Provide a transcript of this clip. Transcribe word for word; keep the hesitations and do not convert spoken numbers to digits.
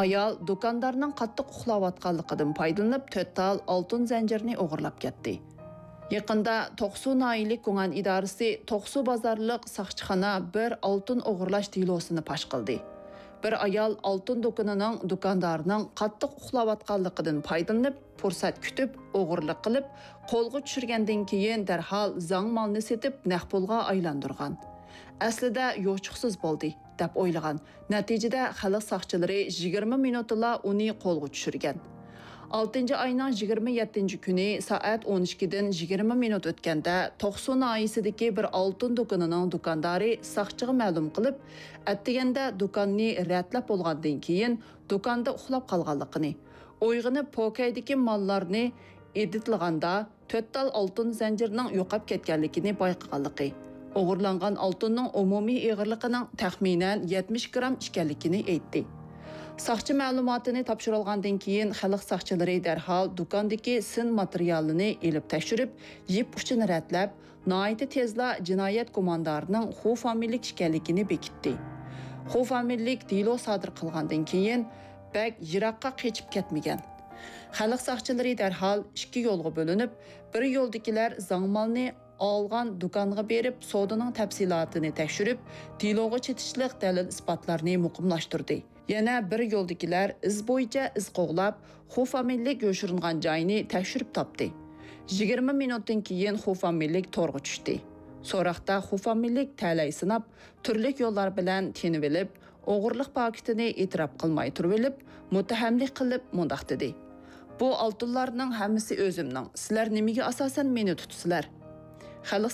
ئايال دۇكاندارنىڭ قاتتىق ئۇخلاۋاتقانلىقىدىن پايدىلىنىپ، تۆت تال ئالتۇن زەنجىرىنى ئوغرىلاپ كەتتى. يېقىندا توقسۇ ناھىيەلىك گۇڭئەن ئىدارىسى توقسۇ بازارلىق ساقچىخانا بىر ئالتۇن ئوغرىلاش دېلوسىنى پاش قىلدى. بىر ئايال ئالتۇن دۇكىنىنىڭ دۇكاندارىنىڭ قاتتىق ئۇخلاۋاتقانلىقىدىن پايدىلىنىپ، پۇرسەت كۈتۈپ، ئوغرىلىق قىلىپ، قولغا چۈشۈرگەندىن كېيىن دەرھال زاڭ مالنى سېتىپ، نەق پۇلغا ئايلاندۇرغان. ئەسلىدە يوچۇقسىز بولدى، دەپ ئويلىغان. نەتىجىدە خەلق ساقچىلىرى يىگىرمە مىنۇتتىلا ئۇنى قولغا چۈشۈرگەن. ئالتىنچى ئاينىڭ يىگىرمە يەتتىنچى كۈنى سائەت ئون ئىككىدىن يىگىرمە مىنۇت ئۆتكەندە، توقسۇ ناھىيەسىدىكى بىر ئالتۇن دۇكىنىنىڭ دۇكاندارى ساقچىغا مەلۇم قىلىپ، ئەتىگەندە دۇكاننى رەتلەپ بولغاندىن كېيىن، دۇكاندا ئۇخلاپ قالغانلىقىنى، ئويغىنىپ، پوكەيدىكى ماللارنى ئېدىتلىغاندا، تۆت تال ئالتۇن زەنجىرىنىڭ يوقاپ كەتكەنلىكىنى بايقىغانلىقى، ئوغرىلانغان ئالتۇننىڭ ئومۇمىي ئېغىرلىقىنىڭ تەخمىنەن يەتمىش گرام ئىكەنلىكىنى ئېيتتى. ساقچى مەلۇماتىنى تاپشۇرۇلغاندىن كېيىن، خەلق ساقچىلىرى دەرھال دۇكاندىكى سىن ماتېرىيالىنى ئېلىپ تەكشۈرۈپ، يىپ ئۇچىنى رەتلەپ، ناھايىتى تېزلا جىنايەت گۇماندارىنىڭ خۇ فامىلىلىك ئىكەنلىكىنى بېكىتتى. خۇ فامىلىلىك دېلو سادىر قىلغاندىن كېيىن، بەك يىراققا قېچىپ كەتمىگەن. خەلق ساقچىلىرى دەرھال ئىككى يولغا بۆلۈنۈپ، بىر يولدىكىلەر زاڭ مالنى ئالغان دۇكانغا بېرىپ، سودىنىڭ تەپسىلاتىنى تەكشۈرۈپ، دېلوغا چېتىشلىق دەلىل-ئىسپاتلارنى مۇقىملاشتۇردى. يەنە بىر يولدىكىلەر ئىز بويىچە ئىز قوغلاپ، خۇ فامىلىلىك يوشۇرۇنغان جاينى تەكشۈرۈپ تاپتى. يىگىرمە مىنۇتتىن كېيىن خۇ فامىلىلىك تورغا چۈشتى. سوراقتا خۇ فامىلىلىك تەلەي سىناپ، تۈرلۈك يوللار بىلەن تىنىۋېلىپ، ئوغرىلىق پاكىتىنى ئېتىراپ قىلماي تۇرۇۋېلىپ، مۇتتەھەملىك قىلىپ مۇنداق دېدى: «بۇ ئالتۇنلارنىڭ ھەممىسى ئۆزۈمنىڭ، سىلەر نېمىگە ئاساسەن مېنى تۇتىسىلەر؟» خەلق